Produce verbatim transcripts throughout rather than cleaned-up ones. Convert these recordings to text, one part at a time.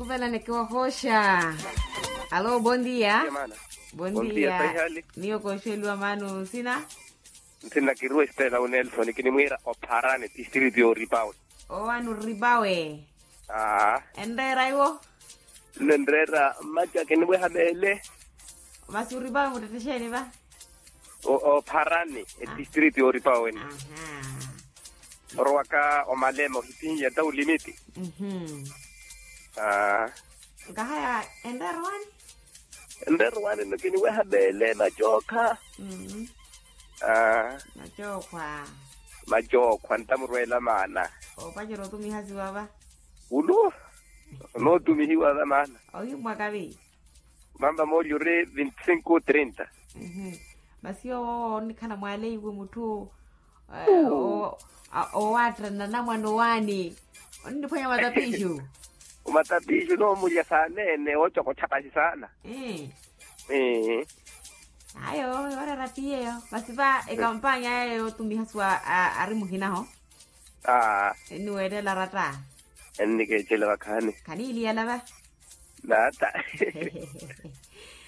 Ovelani kiwahosha. Alo, bondia. Bondia. Miyo kooxeliwa maana nsina. Nsina kiriwa estela unelson kinimwiira opharani tistritu yooripawe. Owaani oripawe. Aa. Enreera iwo. Nenreera mmaca kiniweha meele. Masi oripawe muttettexeeni va? Opharani etistritu yooripawe wene. Orowaka omalema ohipinhiya nta ulimiti. Nkahaya enreera owaani. Enreera owaani nno kiniweha meele macookha. Macookha. Macookha ntamurweela maana. Opacerya otumiha siwa va? Ulu onootumihiwa va maana. Ohimmwaka vi? Mamba moolyo ori vinti sinku trinta. Masi owo onnikhala mwaleiwe mutthu owaattanna namwana owaani. Onniphwanya matapiixu. Matapiixu noomulya saaneene oocokotthapasi saana. Ayo. Iwarara piyeyo masi va ekampaanya aya yootumiha suwa ari muhinaho. Enniweettela ratta. Ennikeettela vakhaani. Khaniiliyala va? Naata.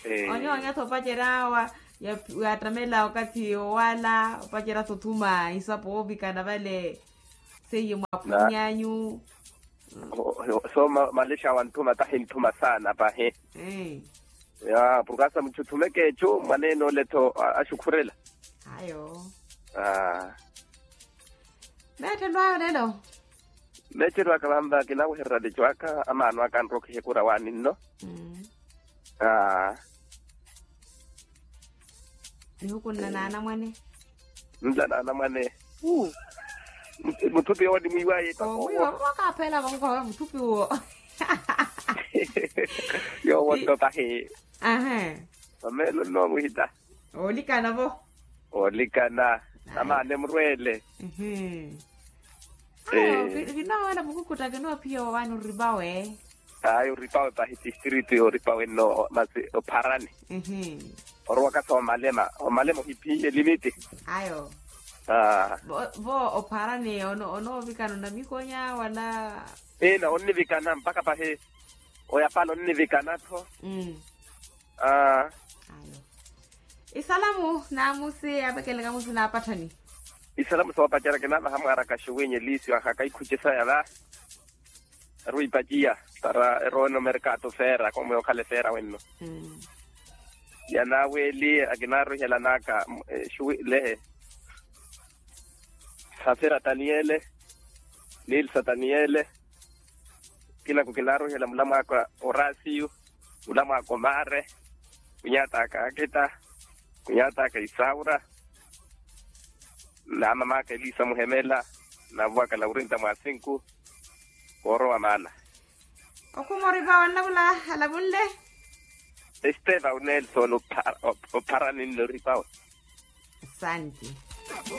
Onyoonya tho opacerya wa yaattamela okathi owala opacerya tho othuma isapo oovikana vale. Seiye mwaphunyanyu. So malexa wantthuma tahi ntthuma saana pahi. Ya purkasa mutthu thumeke ecu mwaneene ole tho axukhurela. Ayo. Meettelwaya olelo. Meettelwaka vanva kinawehererya leco aka amaano aka anrokhihe kura waani nno. Nihukunna naanamwane. Nla naanamwane. Mutthupi owo nimwiiwaye. Omwiiwa mmoka aphela vonkowe mutthupi uwo. Yowo nto tahi. Ahe. Omeelo nno muhita. Oolikana vo. Oolikana. Amaana emurweele. Ayo. Kinoowela mukukutta kinoophiya owaani oripawe. Ayo oripawe pahi tistritu yooripawe nno masi opharani. Orowaka sa omalema omalema ohiphiye limiti. Ayo. Vo opharani onoovikana onamikonya wala? Ina onnivikana mpakha pahi. Oyapala onnivikana-tho. Ayo. Isalamu naamusi apekeleka musi naapatthani. Isalamu soopacerya kinaavaha mwaaraka xuwinyi eliisio aha kaikhuci saya va. Aruipaciya para erowa eno merkato feera komwe okhala efeera wenno. Yanaaweeli akinaaruhelanaka xuwi lehe. Safira taniyele. Nilsa taniyele. Kinaku kinaaruhela mulamwaka orasiyu. Mulamwaka omaare. Khunyaataka akita. Khunyaataka isaura. Naamamaka eliisa muhemela. Naavowaka laurinta mwa sinku. Woorowa maana. Okhuma oripa wanlavula alavunle. Esteva unelson opharani nno oripawe. Asanti.